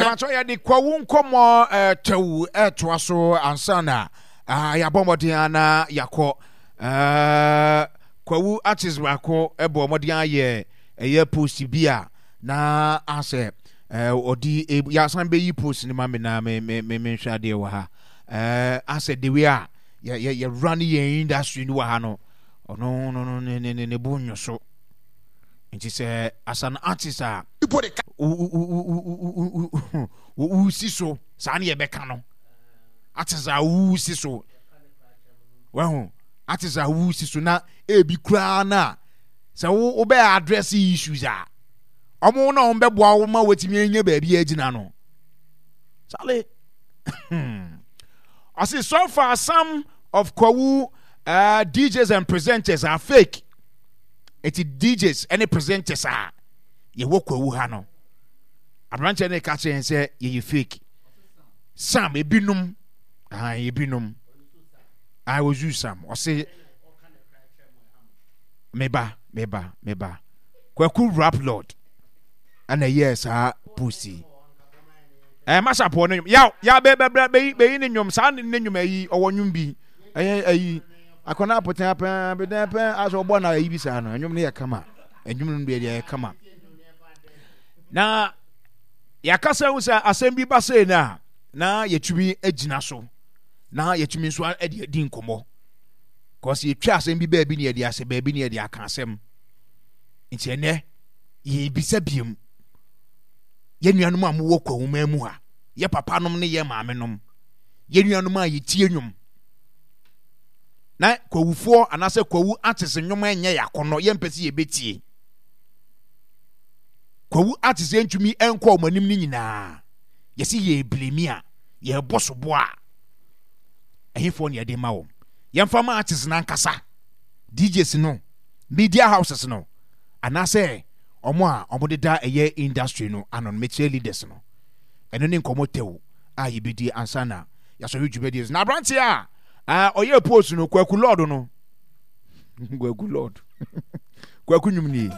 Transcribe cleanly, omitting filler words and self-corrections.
Ɛbɛtɔ yɛde kwawu nkɔmmɔ tɛw ɛtoa so ansa na yɛabɔ mmɔden ana yɛakɔ. Kwawu artist baako bɔ mmɔden ayɛ ɛyɛ post bi a na asɛ ɔde yɛasan bɛyi post no ma me na me me me menhwɛ adeɛ wɔ ha. Asɛ the way a yɛ yɛ yɛwura ne yɛn industry no wɔ ha no, ɔno no no ne ne ne bo nwo so. Nti sɛ as an artist a wosi so saa ne yɛbɛka no, artist a wosi so, wahu, artist a wosi so na ebi koraa no a sɛ wo wobɛ address issues a ɔmo na ɔmo bɛboa wo ma watumi anya baabi agyina no. Charlie, ɔse so far some of Kwawu DJs and presenters are fake. Eti DJs ne presenters a yɛwɔ Kwawu ha no, aberanteɛ no ka kyerɛ yɛn sɛ yɛyɛ fake. Sam ebinom, ah ebinom, ah ozu Sam ɔse meba meba meba Kwaku Rap Lord ɛna ɛyɛɛ saa post yi. Ɛɛ masapɔ ne nnwom yaw yaw bɛ bɛ bɛ bɛyi bɛyi ne nnwom saa ne nnwom ayi ɔwɔ nnwom bi ɛyɛ ayi akɔnɔ apɔtɛn apɛn abɛdɛn pɛn asɛ ɔbɔ na ayi bi saa no nnwom no yɛ kama nnwom no deɛ yɛ kama na yɛakasa ho sɛ asɛm bi ba sei no a na yɛtumi agyina so na yɛtumi nso de adi nkɔmmɔ kɔsi yɛtwa asɛm bi baabi ne yɛde asɛ baabi ne yɛde aka asɛm nti ɛnɛ yɛbisa biom. Yɛn nuanom a mowɔ Kwahuman mu ha, yɛ papanom ne yɛ maamenom, yɛn nuanom a yɛtie nnwom, na Kwawufoɔ anaasɛ Kwawu artist nnwom ɛnyɛ yɛ akɔnnɔ, yɛmpɛ sɛ yɛbɛtie. Kwawu artist yɛntumi nkɔ wɔn anim no nyinaa, yɛsi yɛreblemi a, yɛrebɔ soboɔ a, ɛhefoɔ na yɛde ma wɔn? Yɛmfa ma artist no ankasa, DJs no, media houses no, anaasɛ wɔn a wɔdeda ɛyɛ industry no ano no, mekyerɛ leaders no. Ɛno ne nkɔmmɔ tɛw a yɛbɛdi ansa na yɛasɔre dwumadie so. Na aberanteɛ a ɔyɛ post no, Kwaku Lord no, Kwaku Lord, Kwaku nnwom nie.